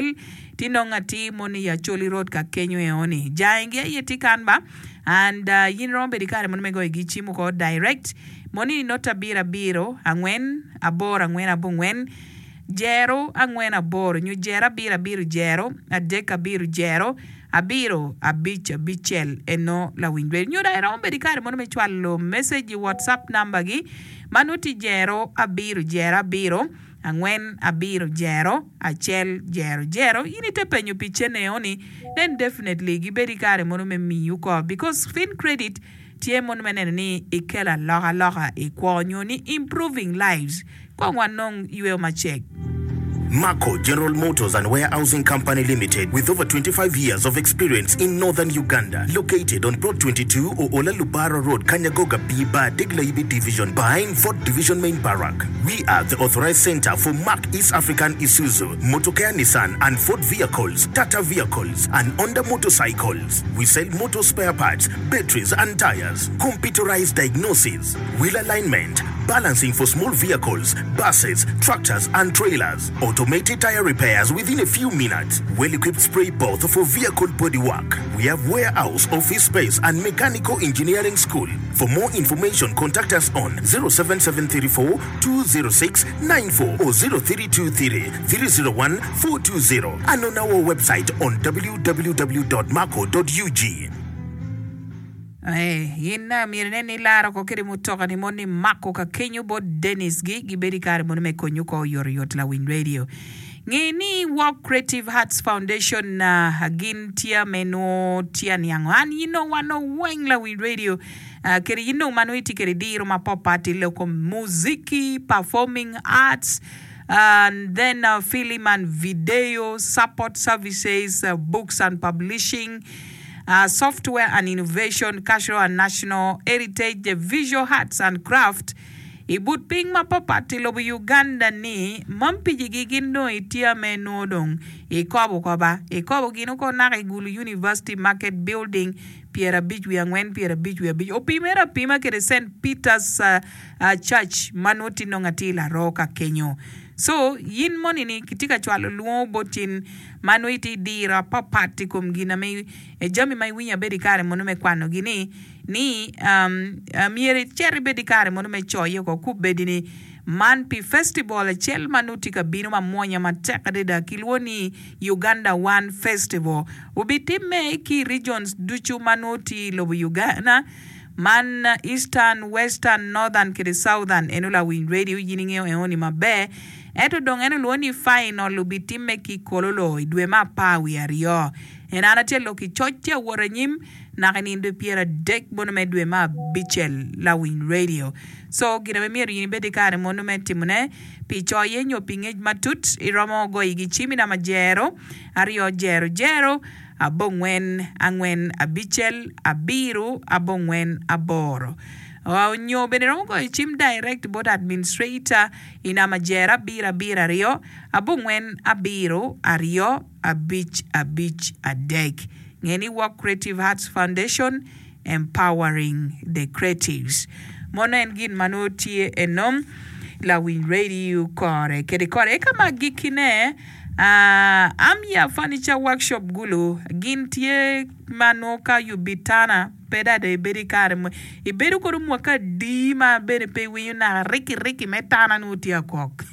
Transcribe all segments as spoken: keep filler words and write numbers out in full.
Hotel ti nongo atir mono i Acholi Road ka kenyo eoni jangi aye tye kan ba and uh, in romo bedo i kare mono me goyo gi cim oko direct moni ni not abiro abiro angwen aboro angwen abongwen jero angwen aboro nyo jero abiro abiro jero adek abiro jero abiro abic abicel eno lawiny radio nyo dong iromo bedo i kare mono me cwalo message i whatsapp number gi ma nongo tye jero abiro jero abiro angwen abiro jero acel jero jero in ite penyo pi cene eoni then definitely gibedo i kare mono me miyi oko because fin credit tye mono me neno ni ikelo alokaloka i kwo nyo ni improving lives kong wanong yweo macek Marco General Motors and Warehousing Company Limited, with over twenty-five years of experience in northern Uganda, located on Plot twenty-two Oola Lubara Road, Kanyagoga B Bar, Degla Division, behind Fort Division Main Barrack. We are the authorized center for Mark East African Isuzu, Motocare Nissan and Ford vehicles, Tata vehicles, and Honda motorcycles. We sell motor spare parts, batteries and tires, computerized diagnosis, wheel alignment, balancing for small vehicles, buses, tractors, and trailers, automated tire repairs within a few minutes, well-equipped spray booth for vehicle bodywork. We have warehouse, office space, and mechanical engineering school. For more information, contact us on zero seven seven three four two zero six nine four or zero three two three three zero one four two zero and on our website on w w w dot marco dot u g. Eh, in myero inen ni ilaro ko kede mutoka ni mon ni mako ka kenyo bot Dennis gi gibedo i kare mono me konyo ko oyotoyot lawiny radio nge ni Walk Creative Hearts Foundation uh, gin tye me nwo tye niango an yin dong wan dong weng lawiny radio uh, kede yin dong ma nongo itye kede diro mapapat i loko muziki, performing arts and then uh, film and video support services, uh, books and publishing, uh, software and innovation, cultural and national heritage, visual arts and craft. I but piny mapapat i lobo Uganda ni mampijigi gin dong itye me nwo dong ikobo koba ikobo gin oko naka i Gulu University Market Building pyerabic wiye angwen pyerabic wiye abic opimere apima kede Saint Peters uh, uh, Church ma nongo tye nongo atir laro ka kenyo. So yin moni ni kitye ka cwalo lwongo bot cin ma nongo itye diro apapat i kom gin ame e jami ma iwinyo abedo i kare mono me kwanogi ni ni um, uh, myero icit ibed i kare mono me coye oko kubedi ni man pi festival acel ma nongo tye ka bino mamwonya matek adada kilwongo ni Uganda One Festival obitimme ki regions ducu ma nongo tye i lobo Uganda man Eastern, Western, Northern kede Southern. Eno lawiny radio yin ingeo eoni maber ento dong en olwongo ni final obitimme ki Kololo i dwe me apar wiye aryo en an atye lok i coc tye awot anyim naka i nino dwe pyeradek mono me dwe me abicel lawiny radio. So gin ame myero in ibed i kare mono me timone pi coye nyo pi ngec matut iromo goyo igi cim i namba jero aryo jero jero abongwen angwen abicel abiro abongwen aboro nyo bene iromo goyo cim direct bot administrator i namba jero abiro abiro aryo abongwen abiro aryo abic abic adek. Nge ni Walk Creative Arts Foundation, empowering the creatives. Mono en gin ma nongo tye enom lawiny radio kore kede kore eka ma agikine uh, Amya Furniture Workshop Gulu gin tye ma nongo ka yubi tana pe dada ibedo i kare mo ibedo kodo mwaka adi ma bene pe iwinyo naka riki riki me tana nongo tye akok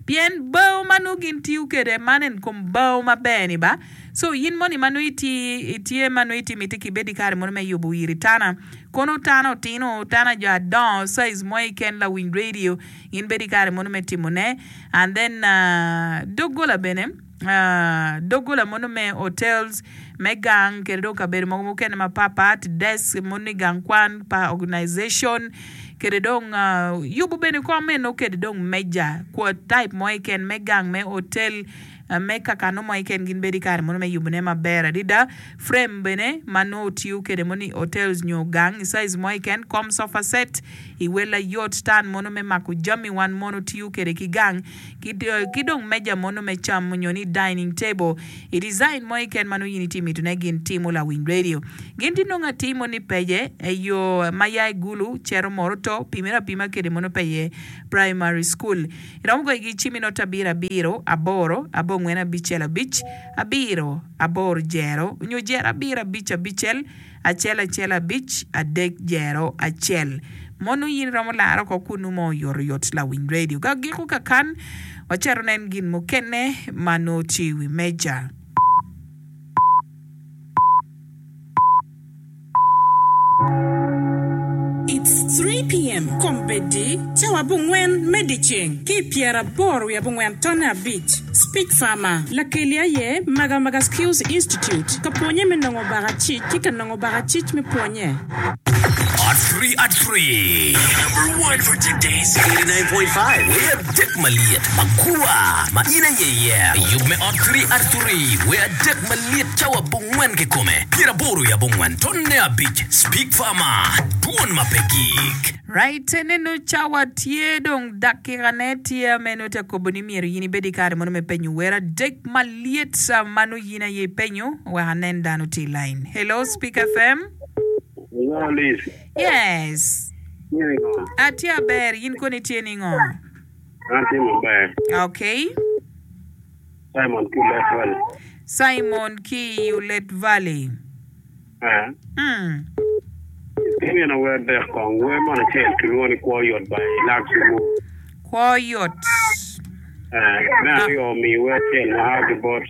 pien bao ma nongo gin tiyo kede man en kom bao maber ni ba. So in moni ma nongo itye itye ma nongo itye miti kibed i kare mono me yubo iri tana kono tana otino tana jo adongo size mo keken lawiny radio in bedo i kare mono me timone. And then uh, doggola bene uh, doggola mono me hotels me gang kede dong kabedo mogo mukene mapapat desk mono i gang kwan pa organization kede dong uh, yubo bene kom eno kede dong meja kwa type mo keken me gang me hotel. me kakano mo keken gin bedo i kare mono me yubone maber adada. Frame bene ma nongo otiyo kwede mono i hotels nyo gang i size mo keken, kom sofa set i wel ayot tan mono me mako jami wan mono tiyo kwede ki gang ki dong meja mono me cam nyo ni dining table i design mo keken ma nongo in itye mitone gin timo lawiny radio. Gin tye nongo atir mono i pece i yo ma ya i Gulu cito Moroto pimere apima kwede mono peye primary school. Iromo goyo gi cim i not abiro abiro aboro abongwen abicel abic abiro aboro jero nyo jero abiro abic abicel acel acel abic adek jero acel. Mono in iromo laro oko kunu mo oyotoyot lawiny radio. Ka giko kakan wacito nen gin mukene ma nongo tye i wi meja. It's three PM, Kombeddi, cawa abongwen me dyeceng ki i pyeraboro wiye abongwen tonne abic, Speech Farmer, Lakeli aye Magamaga Skills Institute, ka pwonye me nongo bakacic ki ka nongo bakacic me pwonye. At three at three. Number one for today's eighty-nine point five. Wer adek malyet magwar ma in aye iye. Yub me ot three at three. Wer adek malyet cawa abongwen kikome. Pyeraboro i abongwen tonne abic. Speak Farmer. Dwon ma pe gik. Right, neno cawa tye dong dakikane tye meno te kobo ni myero in ibed i kare mono me penyo wer adek malyet ma nongo in aye ipenyo wek anen dano tye i line. Hello, Speak F M. Hello, Liz. Yes. Tye ningo? Atye aber, in koni tye ningo? An tye maber. Okay. Simon ki Olet Valley. Simon ki Olet Valley. Eh. Mm. Imino wer adek kong. Wer mono acel kilwongo ni Kwo Yot by Lak Simu. Kwo Yot. Eh, me aryo mi wer acel ma a ki bot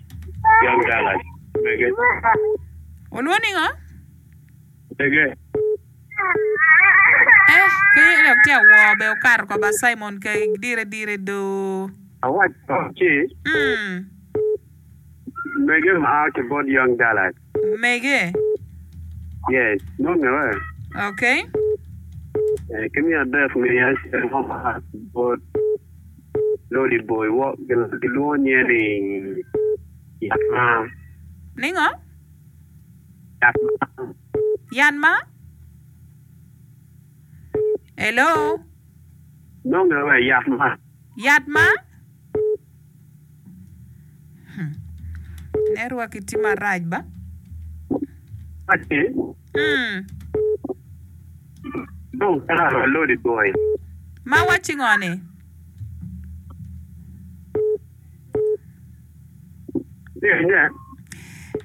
Young Dallas. Mege. Olwongo ningo? Mege. Eh, kenyo dok tye awor be okato ko ba Simon ke dire dire do. Awaco ci Mm. mege ma a ki bot Young Dallas. Mege. Yes, nonge we. Okay. Eh, ki me adek mi acel mo ma a ki bot Lodi Boy. Wo, gilwongo nye ni Yat Ma. Ningo? Yat Ma. Yan ma? Hello? Nonge we Yat Ma. Yat ma? Hmm. Network itye marac ba? Aci. Mm. Dong kara Lodi Boy. Ma wacci ngo ni? Tye nye.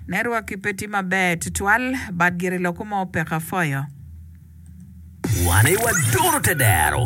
Network pe tye maber tutwal but gire loko mo peko afoyo. Wan aye wadoro te dero.